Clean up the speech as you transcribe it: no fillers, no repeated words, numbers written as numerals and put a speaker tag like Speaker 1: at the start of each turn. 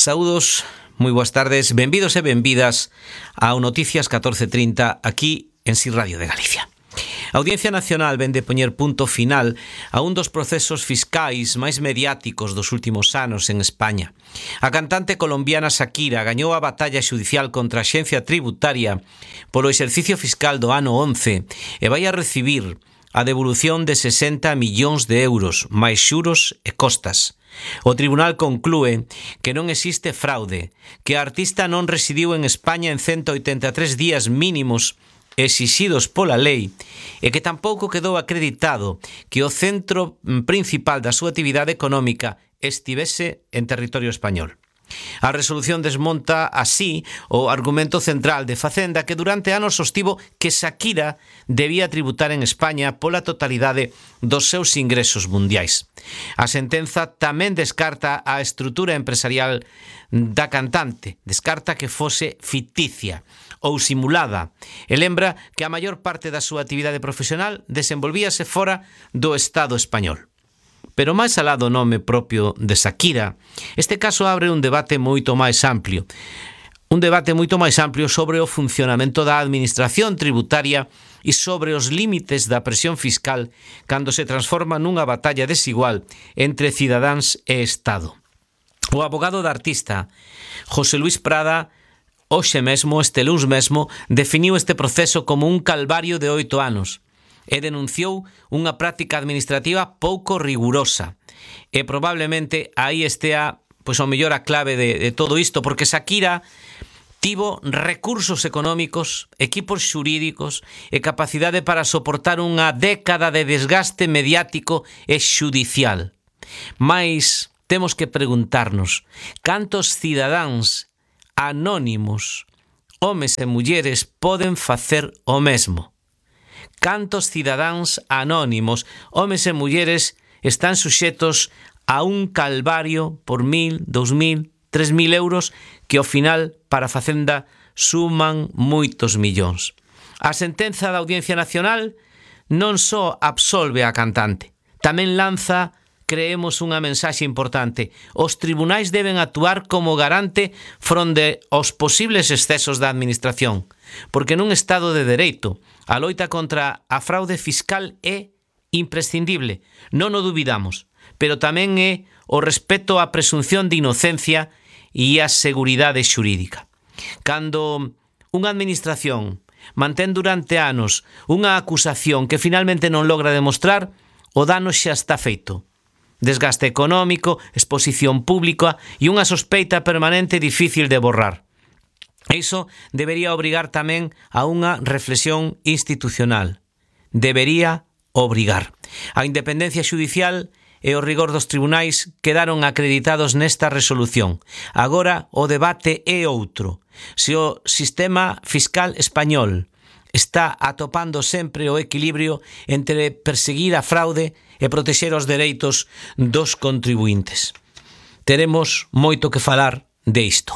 Speaker 1: Saúdos, moi boas tardes, benvidos e benvidas ao Noticias 1430 aquí en Si Radio de Galicia. A Audiencia Nacional vende poñer punto final a un dos procesos fiscais máis mediáticos dos últimos anos en España. A cantante colombiana Shakira gañou a batalla xudicial contra a Axencia Tributaria polo exercicio fiscal do ano 11 e vai a recibir a devolución de 60 millóns de euros, máis xuros e costas. O tribunal conclúe que non existe fraude, que a artista non residiu en España en 183 días mínimos exixidos pola lei e que tampouco quedou acreditado que o centro principal da súa actividade económica estivese en territorio español. A resolución desmonta así o argumento central de Facenda, que durante anos sostivo que Shakira debía tributar en España pola totalidade dos seus ingresos mundiais. A sentenza tamén descarta a estrutura empresarial da cantante, descarta que fose ficticia ou simulada e lembra que a maior parte da súa actividade profesional desenvolvíase fora do Estado español. Pero máis alá do nome propio de Shakira, este caso abre un debate moito máis amplio. Un debate moito máis amplio sobre o funcionamento da administración tributaria e sobre os límites da presión fiscal cando se transforma nunha batalla desigual entre cidadáns e Estado. O abogado da artista, José Luis Prada, este luns mesmo, definiu este proceso como un calvario de 8 anos. E denunciou unha práctica administrativa pouco rigurosa. E probablemente aí estea, ao mellor a clave de todo isto, porque Shakira tivo recursos económicos, equipos xurídicos e capacidade para soportar unha década de desgaste mediático e xudicial. Mais temos que preguntarnos cantos cidadáns anónimos, homes e mulleres, poden facer o mesmo. Cantos cidadáns anónimos, homes e mulleres, están suxetos a un calvario por 1.000, 2.000, 3.000 euros que ao final para a Facenda suman moitos millóns. A sentenza da Audiencia Nacional non só absolve a cantante, tamén lanza, creemos, unha mensaxe importante. Os tribunais deben actuar como garante fronte aos posibles excesos da administración, porque nun Estado de dereito a loita contra a fraude fiscal é imprescindible, non o dubidamos, pero tamén é o respeto á presunción de inocencia e a seguridade xurídica. Cando unha administración mantén durante anos unha acusación que finalmente non logra demostrar, o dano xa está feito. Desgaste económico, exposición pública e unha sospeita permanente difícil de borrar. Iso debería obrigar tamén a unha reflexión institucional. Debería obrigar. A independencia xudicial e o rigor dos tribunais quedaron acreditados nesta resolución. Agora o debate é outro. Se o sistema fiscal español está atopando sempre o equilibrio entre perseguir a fraude e protexer os dereitos dos contribuintes. Teremos moito que falar de isto.